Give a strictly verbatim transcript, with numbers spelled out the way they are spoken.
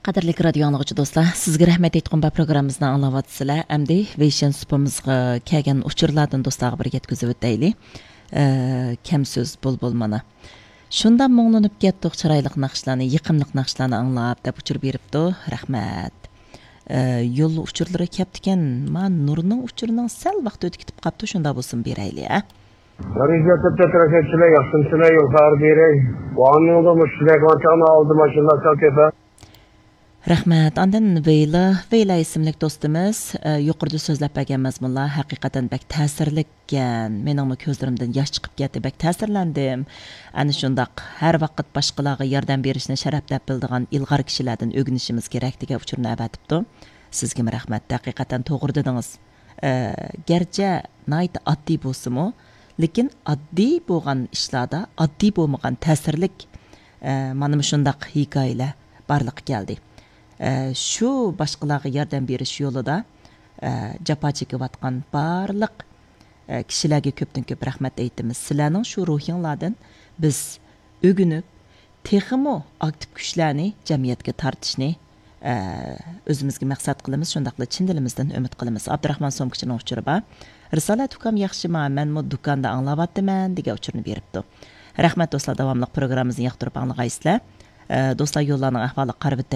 قەدىرلىك رادىيو ئاڭلىغۇچى دوستلار، سىزگە رەھمەت ئېيتقۇم بار پروگراممىمىزنى ئاڭلاۋاتىسىلەر. ئەمدى ۋېيشىن سۇپىمىزغا كەلگەن ئۇچۇرلاردىن دوستلارغا بىر يەتكۈزۈۋۆتەيلى. ئە، كەم سۆز بۇلبۇل مانا. شۇنداق مۇڭلىنىپ كەتتۇق، چىرايلىق ناخشىلارنى، يېقىملىق ناخشىلارنى ئاڭلاپ، دەپ ئۇچۇر بېرىپتۇ. رەھمەت. ئە، يول ئۇچۇرلىرى كەپتىكەن. ما نۇرنىڭ ئۇچۇرىنىڭ سەل ۋاقتى ئۆتۈپ كېتىپ قاپتۇ، شۇنداق بولسۇن بېرەيلى، ئە. رىزا تۆتتە تىرەكەتچىلەر ياخشىمسىلەر، يول خەۋەر بېرەي. ۋانىڭدا مۇشۇندەك ۋاتاڭنى ئالدى ماشىنىلار سەل كۆپە. رەھمەت. ئاندىن ۋېيلا، ۋېيلا ئىسىملىك دوستىمىز، ئە، يۇقىرىدا سۆزلەپ بەرگەن مەزمۇنلار ھەقىقەتەن بەك تەسىرلىككەن. مېنىڭمۇ كۆزلىرىمدىن ياش چىقىپ كەتتى. بەك تەسىرلەندىم. ئەنە شۇنداق ھەر ۋاقىت باشقىلارغا ياردەم بېرىشنى شەرەپ دەپ بىلىدىغان ئىلغار كىشىلەردىن ئۆگىنىشىمىز كېرەك دېگەن ئۇچۇرنى ئەۋەتىپتۇ. سىزگىمۇ رەھمەت. ھەقىقەتەن توغرا دېدىڭىز. ئە، گەرچە ناھايىتى ئاددىي بولسىمۇ، لېكىن ئاددىي بولغان ئىشلاردا ئاددىي بولمىغان تەسىرلىك، ئە، مانا مۇشۇنداق ھېكايىلەر بارلىققا كەلدى. ئە، شۇ باشقىلارغا ياردەم بېرىش يولىدا، ئە، جاپا چېكىۋاتقان بارلىق، ئە، كىشىلەرگە كۆپتىن كۆپ رەھمەت ئېيتىمىز. سىلەرنىڭ شۇ روھىڭلاردىن بىز ئۆگىنىپ، تېخىمۇ ئاكتىپ كۈچلەرنى جەمئىيەتكە تارتىشنى، ئە، ئۆزىمىزگە مەقسەت قىلىمىز، شۇنداقلا چىن دىلىمىزدىن ئۈمىد قىلىمىز. ئابدۇراخمان سومكىچىنىڭ ئۇچۇرى بار. رىسالەت ئۇكام ياخشىما؟ مەنمۇ دۇكاندا ئاڭلاۋاتىمەن، دېگەن ئۇچۇرنى بېرىپتۇ. رەھمەت دوستلار، داۋاملىق پروگراممىمىزنى ياقتۇرۇپ ئاڭلىغايسىلەر. ئە، دوستلار، يوللارنىڭ ئەھۋالىغا قارىۋېتەيلى.